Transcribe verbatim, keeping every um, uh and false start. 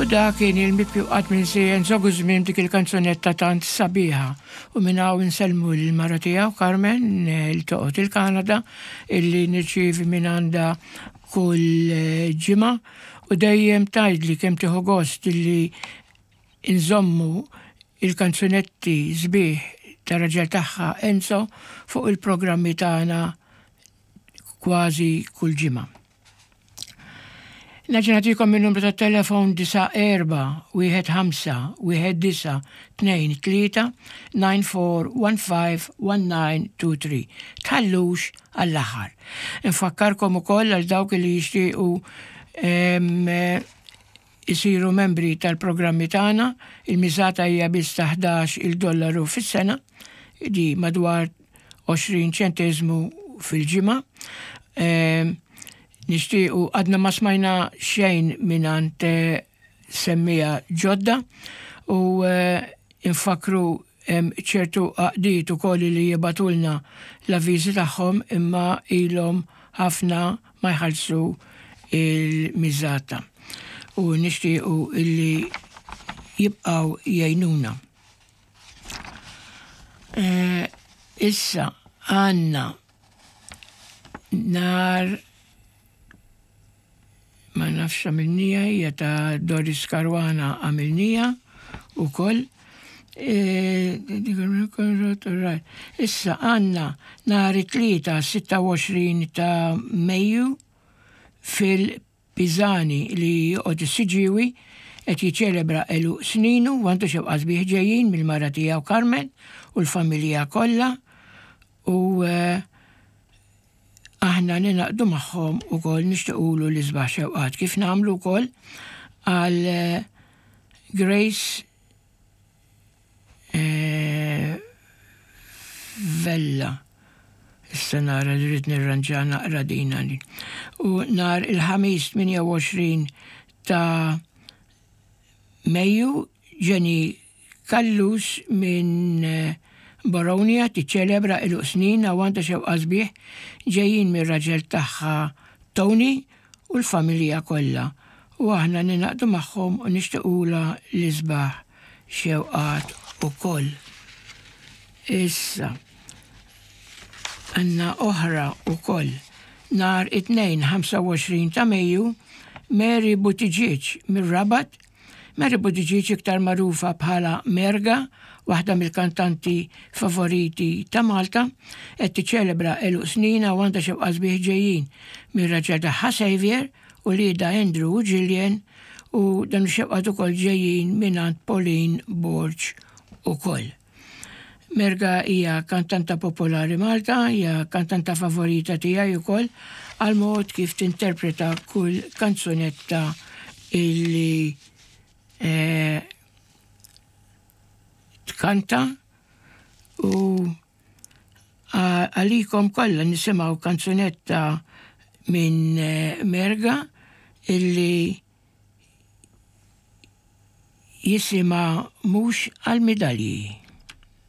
U dak kien il-mibki qatt minsi Enzo Guzmin, dik il-kanzunetta tant sabiħa. U minn hawn insellmu l-mara tiegħu Carmen eh, li toqgħod il-Kanada, illi nirċievi minn għandha kull eh, ġimgħa u dejjem tgħidli kemm tieħu gost illi inżommu il-kanzunetti sbieħ ta' raġel tagħha Enzo fuq il-programmi tagħna kważi kull ġimgħa. Nerġa' nagħtikom il-numru ta' telefon: disa' erba' wieħed ħamsa wieħed disa' tnejn tlieta, nine four one five one nine two three. Tħallux għall-aħħar. Infakkarkom ukoll għal dawk li jixtiequ isiru membri tal-programmi tagħna, il-miżata hija biss ta' ħdax il-dollaru fis-sena, di madwar għoxrin ċenteżmu fil-ġimgħa. Nixtiequ, għadna ma smajna xejn mingħand eh, semmiegħa ġodda u eh, infakru ċertu għaqdiet ukoll li jibagħtulna l-avviżi tagħhom, imma ilhom ħafna ma jħallsu il-miżata u nixtiequ illi jibqaw jgħinuna. Eh, issa għandna nar ma nafx għamilnieha, hija ta' Doris Caruana, għamilnieha ukoll. E, issa għandna nhar it-Tlieta sitta u għoxrin ta' Mejju fil-Pizani li joqgħod is-Siġġiewi, qed jiċċelebra għeluq sninu u għandu xewqat sbieħ ġejjin mill-mara tiegħu Carmen u l-familja kollha u eh, aħna ningħaqdu magħhom ukoll nixtiequlu l-isbaħ xewqat, kif nagħmlu wkoll għal eh, Grace eh, Vella. Issa nara li rrid nirranġa naqra dina li. U nhar il-Ħamis tmienja u għoxrin ta' Mejju, Jenny Callus minn eh, Boronia tiċċelebra għeluq snin u għandha xewqat sbieħ ġejjin mir-raġel tagħha Tony u l-familja kollha. U aħna ningħaqdu magħhom u nixtiequlha l-isbaħ xewqat ukoll. Issa, għandna oħra ukoll. Nhar it-Tnejn ħamsa u għoxrin ta' Mejju, Mary Buttigieg mir-Rabat. Mary Buttigieg, iktar magħrufa bħala Merga, waħda mill-kantanti favoriti ta' Malta, qed tiċċelebra għeluq snina u għandha xewqat sbieħ ġejjin mir-raġel tagħha Xavier u uliedha Andrew u Gillian, u dan xewqat ukoll ġejjin mingħand Pauline Borg ukoll. Merga hija kantanta popolari Malta, hija kantanta favorita tiegħi ukoll għal mod kif tinterpreta kull kanzunetta illi eh, tkanta. U għalikom kollha nisimgħu kanzunetta minn eh, Merga illi jisimha "Mhux għal-Midalji".